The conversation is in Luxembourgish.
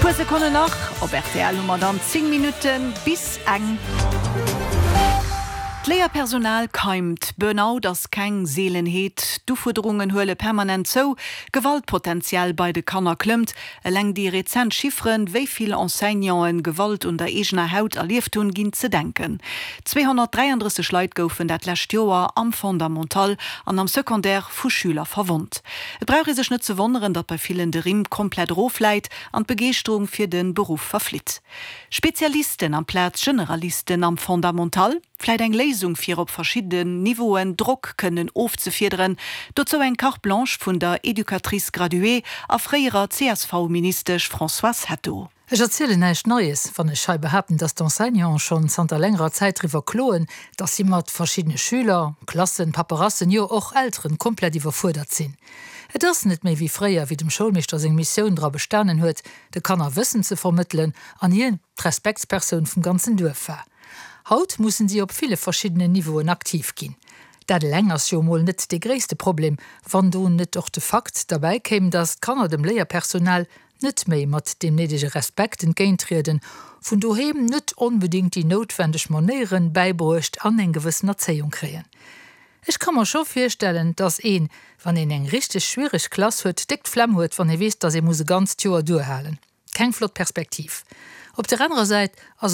Puer Sekonnen nach, op rtl hu mer dann 10 Minutten bis eng. D'Léierpersonal keimt, Burnout ass keng Seelenheet, d'Ufuerderungen huele permanent zou, Gewaltpotential bei de Kanner klëmmt. Eleng déi rezent Chifferen, wéi vill Enseignanten Gewalt un der eegener Haut erlieft hunn, ginn ze denken. 233 Leit goufen dat lescht Joer am Fondamental an am Secondaire vu Schüler verwonnt. Et brauch ee sech net ze wonneren, datt bei villen de Rimm komplett erofläit an d'Begeeschterung fir de Beruff verflitt. Spezialisten amplaz Generalisten am Fondamental? Vläit eng Léisung fir op verschidden Niveauen Drock kënnen ofzefiederen? Dozou eng Carte blanche vun der Educatrice graduée a fréierer CSV-Ministesch Françoise Hetto. Ech erzielen näischt Neies, wann ech hei behaapten, dass d'Enseignanten schonn zanter längerer Zäit driwwer kloen, dass si mat verschiddene Schüler, Klassen, Paperassen, jo och Elteren komplett iwwerfuerdert sinn. Et ass net méi wéi fréier, wéi dem Schoulmeeschter seng Missioun dra bestanen huet, de Kanner Wëssen ze vermëttelen an hien d'Respektspersoun vum ganzen Duerf war. Haut mussen si op ville verschiddenen Niveauen aktiv ginn. Dat eleng ass jo emol net dee gréisste Problem, wann do net och de Fakt derbäi kéim, dass d'Kanner dem Léierpersonal net méi mat deem néidege Respekt entgéinttrieden, vun doheem net onbedéngt déi noutwendeg Manéieren bäibruecht an eng gewëssen Erzéiung kréien. Ech ka mer scho virstellen, dass een, wann een eng richteg schwiereg Klass huet, déck d'Flemm huet, wann ee weess, dass ee muss e ganzt Joer duerhalen. Keng flott Perspektiv. Op der anerer Säit ass et.